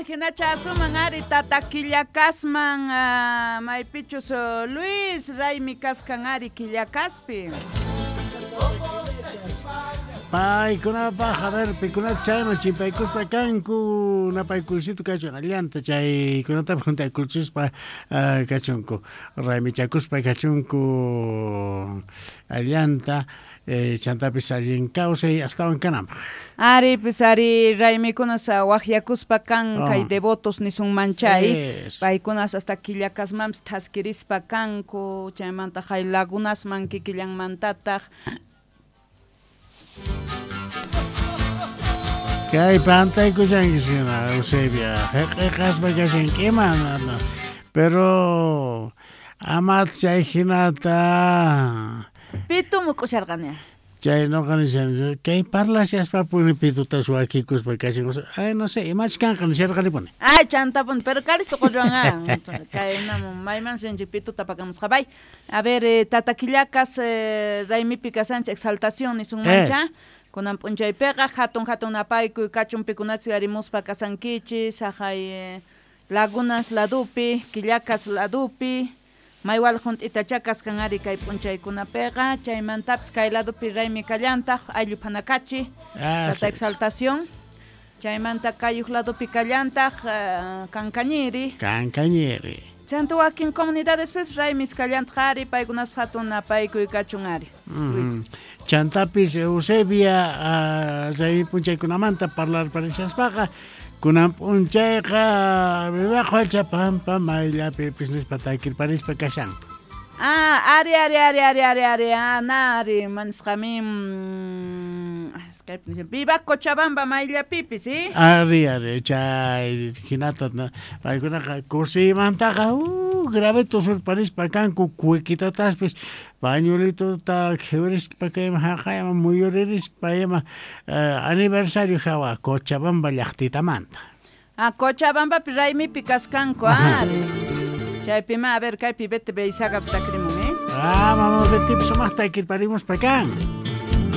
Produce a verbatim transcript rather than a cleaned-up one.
Hinacha asuman ari tata Quillacasman, uh, maypichus uh, Luis raymi kaskan ari Quillacaspi. Paykunapaj, a ver, pikunata chayman chimpaykuspa kanku, napaykusito kachun allanta chaykunatapas juntaykuchispa uh, kachunku, raymichakuspa kachunku allanta, eh, chantapis allin kawsay astawan kananpaj. Ari, pues ari raymikunas waqyakuspa kan Oh. kay devotos nisunmanchay. Eso. Paykunas hasta Quillacasmanpis thaskirispa kanku, chaymanta hay lagunasman kikillanmantataq. Kay pantaykushanki hina, Eusebia, heq'eqaspa kashanki ima, no, pero ama chay hinata. Pitu muk'usharqani. Chay noqa nishan, kay parlashaspa puni pituta suwakikuspa kashan, ay no sé, imach kanqa nisharqanipuni. Ay, chantapuni, pero kalisto qolluwan kay mayman sinchik pituta pakamusqa. Bay. A ver, eh, tata Quillacas eh, raymipi kasanchik exaltación nisunmancha. Eh. Kunan p'unchaypiqa hatun hatun napaykuy kachun pikunachu yarimuspa kasankichis, haqay eh, lagunas ladupi, Quillacas ladupi, maywal junt'itacha kaskan ari kay p'unchaykunapiqa, chaymantapis kay ladupi raymi kallantaq, ayllu phanakachi, Ah, tata exaltación, chaymanta kayuq ladupi kallantaq, uh, kankañiri. Kankañiri. Chanta wakin comunidadespipis raymis kallantaq ari, paykunaspa hatun napaykuy kachun ari. Luis. Mm. Chantapis Eusebia uh, raymi p'unchaykunamanta parlarparishaspaqa kunan p'unchayqa viva Pampa mayllapipis nispa takirparispa kashanku. Ah, ari, ari, ari, ari, ari, ari, ah, na, ari, manisqami, mm, viva Cochabamba mayllapipis, ¿sí? Ari, ari, chay hinata paykunaqa kusiymantaqa uh, graveto surparispa kanku kuikitataspis pañuelitota qhiwarispa kayman haqayman muyuririspa ima uh, aniversario hawa Cochabamba llaqtitamanta. Ah, Cochabambapi raymipi kaskanku, ari. Chaypima, a ver, kaypi Bete Beizaga takrimun, eh? Ah, mama Betipis sumaqta takirparimuspa kan.